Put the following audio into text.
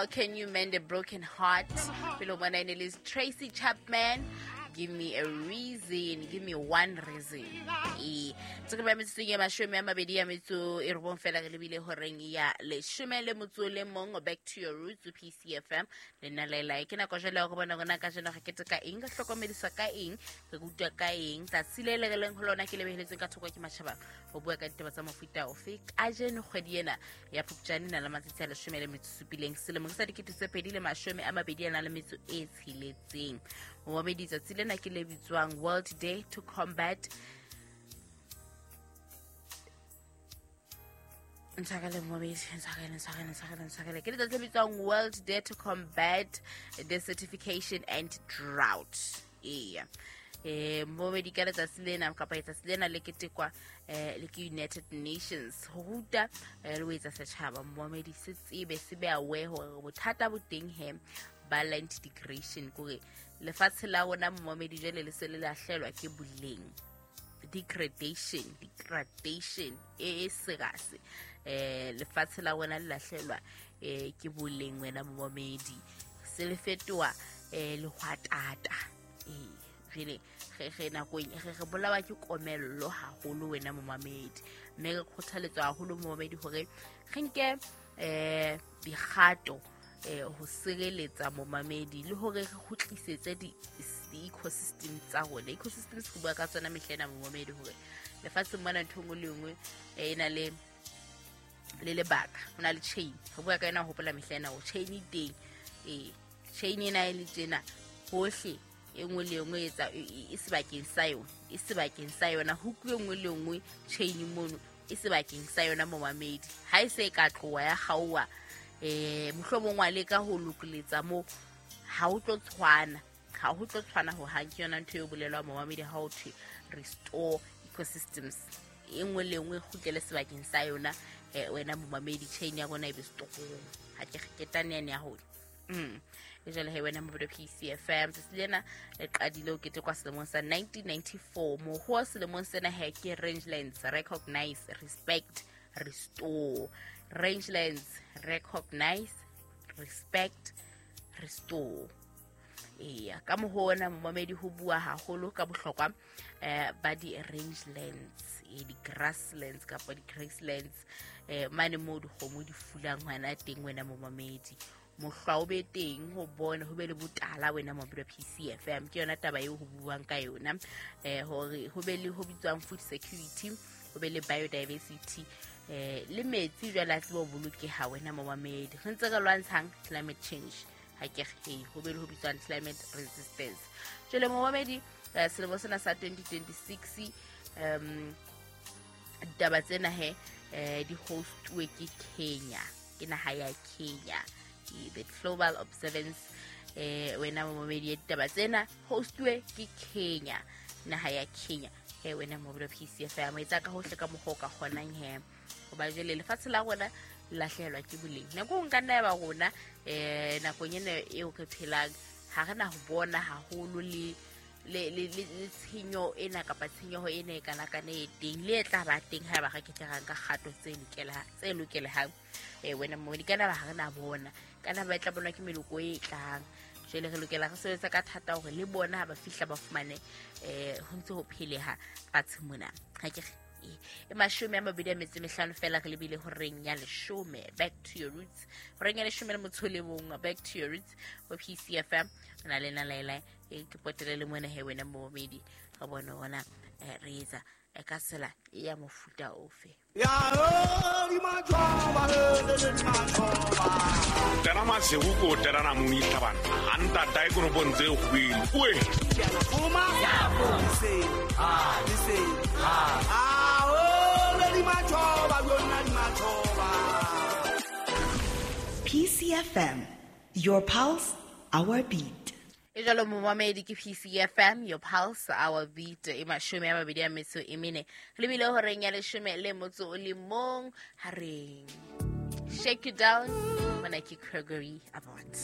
How Can You Mend a Broken Heart? Pele ho bona e ne le Tracy Chapman, Give Me a Reason, Give Me One Reason. Ee, tse ba metsotsong ya 29 fela re lebile horeng ya 11, Back to Your Roots, PCFM le nna Laelae. Ke nako jwale ya go bona rona ka jeno re keteka eng, re hlokomediswa ka eng, re rutwa ka eng. Tsatsi le le re leng ho lona ke lebeheletsweng ka thoko ke matjhaba ho bua ka ditaba tsa mofuta ofe. Kajeno kgwedi ena ya Phupjane na le matsatsi a 17 selemong sa 2026. Momamedi, tsatsi lena ke le bitswang World Day to Combat ntshwarele momamedi, ntshwarele, ntshwarele, ntshwarele, ntshwarele. Ke letsatsi le bitswang World Day to Combat Desertification and Drought. Eya, momamedi, ka letsatsi lena kapa letsatsi lena le ketekwa le ke United Nations ho ruta le ho etsa setjhaba, momamedi, se tsebe, se be aware hore bothata bo teng he ba land degradation, kore lefatshe la rona, momamedi, jwale le se le lahlelwa ke boleng, degradation e serious. Lefatshe la rona le lahlelwa ke boleng, wena momamedi, se le fetoha lehwatata. Jwale re nakong re bolawa ke komello haholo, wena momamedi, mme re kgothaletswa haholo, momamedi, hore re nke dikgato ho sireletsa, momamedi, le hore re kgutlisetse di-ecosystem tsa rona. Ecosystems re bua ka tsona mehla ena, momamedi, hore lefatsheng mona ntho e nngwe le nngwe e na le lebaka, ho na le chain re bua ka yona. Ho hopola mehla ena hore chain e teng. Ee, chain ena e le tjena hohle, e nngwe le nngwe etsa e sebakeng sa yona, e sebakeng sa yona. Huku e nngwe le nngwe chain mono e sebakeng sa yona, momamedi. Ha e se e ka tloha ya kgaoha, mohlomong wa leka ho lokoletsa mo, ha o tlo tshwana, ha ho tlo tshwana ho hang. Ke yona ntho e bolelwang, momamedi, ha o thwe restore ecosystems, e nngwe le nngwe e kgutlele sebakeng sa yona. Wena momamedi, chain ya rona e be strong. Ha ke ketane yane ya hole. E jwale he, wena mobedo, PCFM, tsatsi lena le qadile ho ketekwa selemong sa 1994. Moho selemong sena he ke rangelands recognize, respect, restore. Rangelands recognize, respect, restore. Eya, ka mohona, momamedi, ho bua haholo ka bohlokwa ba di-rangelands, di-grasslands kapa di-grasslands, mane moo dikgomo di fulang hona teng, wena momamedi. Mohlwa o be teng ho bona ho be le botala, wena momamedi wa PCFM. Ke yona taba eo ho buang ka yona, hore ho be le ho bitswang food security, ho be le biodiversity, le metsi jwale a tsebe ho bolokeha, wena momamedi. Re ntse re lwantshang climate change, ha ke re ho be le ho bitswang climate resistance. Jwale, momamedi, selemo sena sa 2026, ditaba tsena he di hostuwe ke Kenya, ke naha ya Kenya, the global observance. Wena momamedi, ya ditaba tsena hostuwe ke Kenya, naha ya Kenya. He wena momamedi wa PCFM, etsa ka hohle ka mokgwa o ka kgonang he, hoba jwale lefatshe la rona le lahlehelwa ke boleng. Nako nka nna ya ba rona nakong ena eo re phelang ha re na ho bona haholo le tshenyo ena kapa tshenyeho ena e kana kana e teng le e tla ba teng ha ba re ke tla ka kgato tse lokelehang. Wena mo di kana ba ha re na bona, kana ba tla bonwa ke meloko e tlang. Jwale re lokela re sebetsa ka thata hore le bona ha ba fihla ba fumane ho ntse ho pheleha fatshe mona. Ha ke re e 25 fela re lebile horeng ya 10. Back to Your Roots, horeng ya 11, Back to Your Roots ho PCFM. O na le na laela e ke potele le mona he, wena momedi, re bone ona re etsa ka tsela ya mofuta ofe. Tera masego ko terana moni tlhabana a ntata e koropong tse kgwele oe. PCFM, your pulse, our beat. E jalo, momamedi, ke PCFM, your pulse, our beat. E 24 re lebile horeng ya 11 . Ha reng shake you down, mona ke Gregory Abbott.